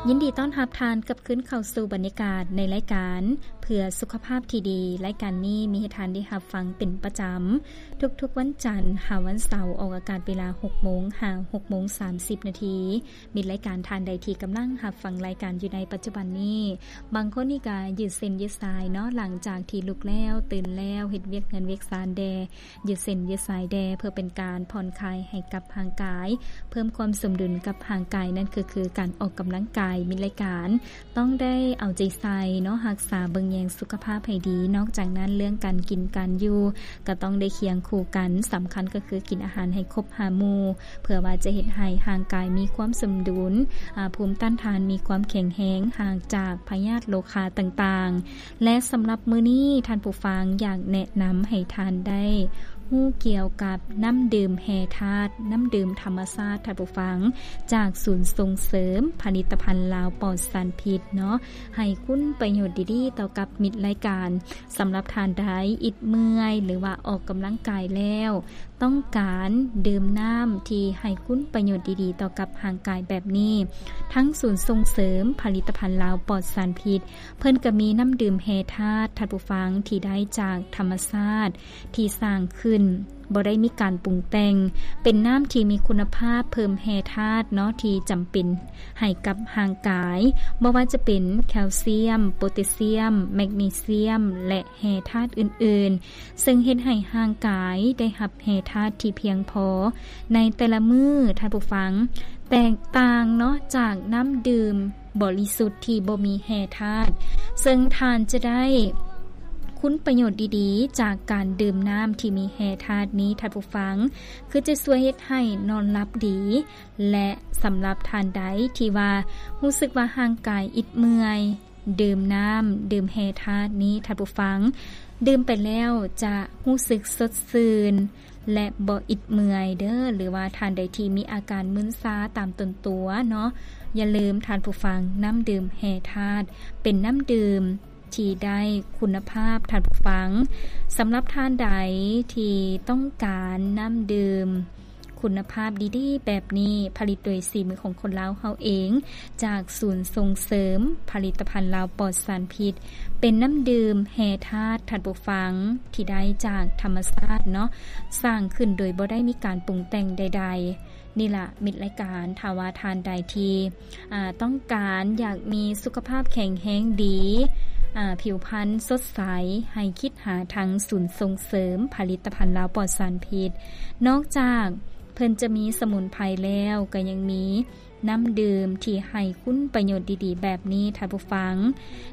ຍິນດີຕ້ອນຮັບທ່ານກັບຄືນເຂົ້າສູ່ບັນຍາກາດໃນລາຍການເພື່ອສຸຂະພາບທີ່ດີ. ລາຍການນີ້ມີໃຫ້ທ່ານໄດ້ຮັບຟັງເປັນປະຈຳ ທຸກໆວັນຈັນຫາວັນເສົາ ອອກອາກາດເວລາຫົກໂມງຫາຫົກໂມງສາມສິບນາທີ. ມິດລາຍການທ່ານໃດທີ່ກຳລັງຮັບຟັງລາຍການຢູ່ໃນປັດຈຸບັນນີ້, ບາງຄົນນີ້ກະຢືດເສັ້ນຢືດສາຍເນາະ, ຫຼັງຈາກທີ່ລຸກແລ້ວ, ຕື່ນແລ້ວ, ເຮັດວຽກເຮືອນວຽກຊານແດ່, ຢືດເສັ້ນຢືດສາຍແດ່ ເພື່ອເປັນການຜ່ອນຄາຍໃຫ້ກັບຮ່າງກາຍ, ເພີ່ມຄວາມສົມດຸນກັບຮ່າງກາຍ, ນັ້ນກໍຄືການອອກກຳລັງກາຍ. ມິດລາຍການຕ້ອງໄດ້ເອົາໃຈໃສ່ເນາະ, ຮັກສາເບິ່ງແຍງສຸຂະພາບໃຫ້ດີ. ນອກຈາກນັ້ນ, ເລື່ອງການກິນການຢູ່ກໍຕ້ອງໄດ້ຄຽງຄູ່ກັນ, ສຳຄັນກໍຄືກິນອາຫານໃຫ້ຄົບຫ້າໝູ່, ເພື່ອວ່າຈະເຮັດໃຫ້ຮ່າງກາຍມີຄວາມສົມດຸນ, ອາ, ພູມຕ້ານທານມີຄວາມແຂງແຮງ, ຫ່າງຈາກພະຍາດໂລຄາຕ່າງໆ. ແລະ ສຳລັບມື້ນີ້, ທ່ານຜູ້ຟັງ, ຢາກແນະນຳໃຫ້ທ່ານໄດ້ຮູ້ກ່ຽວກັບນ້ຳດື່ມແຮ່ທາດ, ນ້ຳດື່ມທຳມະຊາດ, ທ່ານຜູ້ຟັງ, ຈາກສູນສົ່ງເສີມຜະລິດຕະພັນລາວປອດສານພິດເນາະ, ໃຫ້ຄຸນປະໂຫຍດດີໆຕໍ່ກັບມິດລາຍການ. ສຳລັບທ່ານໃດອິດເມື່ອຍ ຫຼືວ່າອອກກຳລັງກາຍແລ້ວ ຕ້ອງການດື່ມນ້ຳທີ່ໃຫ້ຄຸນປະໂຫຍດດີໆຕໍ່ກັບຮ່າງກາຍແບບນີ້, ທາງສູນສົ່ງເສີມຜະລິດຕະພັນລາວປອດສານພິດ ເພິ່ນກໍມີນ້ຳດື່ມແຮ່ທາດ, ທ່ານຜູ້ຟັງ, ທີ່ໄດ້ຈາກທຳມະຊາດ ທີ່ສ້າງຂຶ້ນ, ບໍ່ໄດ້ມີການປຸງແຕ່ງ, ເປັນນ້ຳທີ່ມີຄຸນນະພາບເພີ່ມແຮ່ທາດເນາະ ທີ່ຈຳເປັນໃຫ້ກັບຮ່າງກາຍ, ບໍ່ວ່າຈະເປັນແຄວຊຽມ, ໂປແທສຊຽມ, ແມັກນີຊຽມ ແລະ ແຮ່ທາດອື່ນໆ, ເຊິ່ງເຮັດໃຫ້ຮ່າງກາຍໄດ້ຮັບແຮ່ທາດທີ່ພຽງພໍໃນແຕ່ລະມື້, ທ່ານຜູ້ຟັງ, ແຕກຕ່າງເນາະ ຈາກນ້ຳດື່ມບໍລິສຸດທີ່ບໍ່ມີແຮ່ທາດ, ເຊິ່ງທ່ານຈະໄດ້ຄຸນປະໂຫຍດດີໆຈາກການດື່ມນ້ຳທີ່ມີແຮ່ທາດນີ້, ທ່ານຜູ້ຟັງ, ຄືຈະຊ່ວຍເຮັດໃຫ້ນອນຫຼັບດີ. ແລະ ສຳລັບທ່ານໃດທີ່ວ່າຮູ້ສຶກວ່າຮ່າງກາຍອິດເມື່ອຍ, ດື່ມນ້ຳ, ດື່ມແຮ່ທາດນີ້, ທ່ານຜູ້ຟັງ, ດື່ມໄປແລ້ວຈະຮູ້ສຶກສົດຊື່ນ ແລະ ບໍ່ອິດເມື່ອຍເດີ້, ຫຼືວ່າທ່ານໃດທີ່ມີອາການມຶນຊາຕາມຕົນຕົວເນາະ, ຢ່າລືມ, ທ່ານຜູ້ຟັງ, ນ້ຳດື່ມແຮ່ທາດ ເປັນນ້ຳດື່ມທີ່ໄດ້ຄຸນນະພາບ, ທ່ານຜູ້ຟັງ. ສຳລັບທ່ານໃດທີ່ຕ້ອງການນ້ຳດື່ມ ຄຸນນະພາບດີໆແບບນີ້, ຜະລິດໂດຍສີມືຂອງຄົນລາວເຮົາເອງ, ຈາກສູນສົ່ງເສີມຜະລິດຕະພັນລາວປອດສານພິດ, ເປັນນ້ຳດື່ມແຮ່ທາດ, ທ່ານຜູ້ຟັງ, ທີ່ໄດ້ຈາກທຳມະຊາດເນາະ, ສ້າງຂຶ້ນໂດຍບໍ່ໄດ້ມີການປຸງແຕ່ງໃດໆ. ນີ້ລະ ມິດລາຍການ, ຖ້າວ່າທ່ານໃດທີ່ ອາ, ຕ້ອງການຢາກມີສຸຂະພາບແຂງແຮງດີ, ອາ, ຜິວພັນສົດໃສ, ໃຫ້ຄິດຫາທາງສູນສົ່ງເສີມຜະລິດຕະພັນລາວປອດສານພິດ. ນອກຈາກເພິ່ນຈະມີສະໝຸນໄພແລ້ວ, ກໍຍັງມີນ້ຳດື່ມທີ່ໃຫ້ຄຸນປະໂຫຍດດີໆແບບນີ້, ທ່ານຜູ້ຟັງ.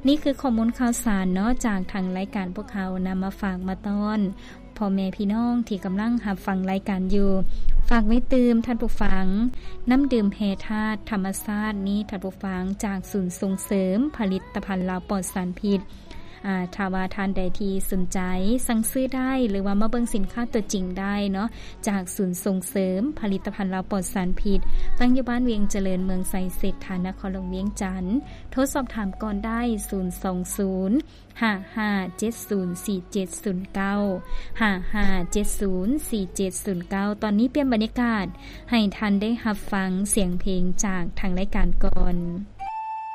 ນີ້ຄືຂໍ້ມູນຂ່າວສານເນາະ, ຈາກທາງລາຍການພວກເຮົານຳມາຝາກມາຕ້ອນ ພໍ່ແມ່ພີ່ນ້ອງທີ່ກຳລັງຮັບຟັງລາຍການຢູ່, ຝາກໄວ້ຕື່ມທ່ານຜູ້ຟັງ, ນ້ຳດື່ມແຮ່ທາດທຳມະຊາດນີ້, ທ່ານຜູ້ຟັງ, ຈາກສູນສົ່ງເສີມຜະລິດຕະພັນລາວປອດສານພິດ. ອາ, ຖ້າວ່າທ່ານໃດທີ່ສົນໃຈ, ສັ່ງຊື້ໄດ້ ຫຼືວ່າມາເບິ່ງສິນຄ້າຕົວຈິງໄດ້ເນາະ, ຈາກສູນສົ່ງເສີມຜະລິດຕະພັນລາວປອດສານພິດ, ຕັ້ງຢູ່ບ້ານວຽງຈະເລີນ, ເມືອງໄຊເສດຖາ, ນະຄອນຫຼວງວຽງຈັນ. ໂທສອບຖາມກ່ອນໄດ້, ສູນສອງສູນ ຫ້າຫ້າເຈັດສູນສີ່ເຈັດສູນເກົ້າ ຫ້າຫ້າເຈັດສູນສີ່ເຈັດສູນເກົ້າ. ຕອນນີ້ປ່ຽນບັນຍາກາດໃຫ້ທ່ານໄດ້ຮັບຟັງສຽງເພງຈາກທາງລາຍການກ່ອນ.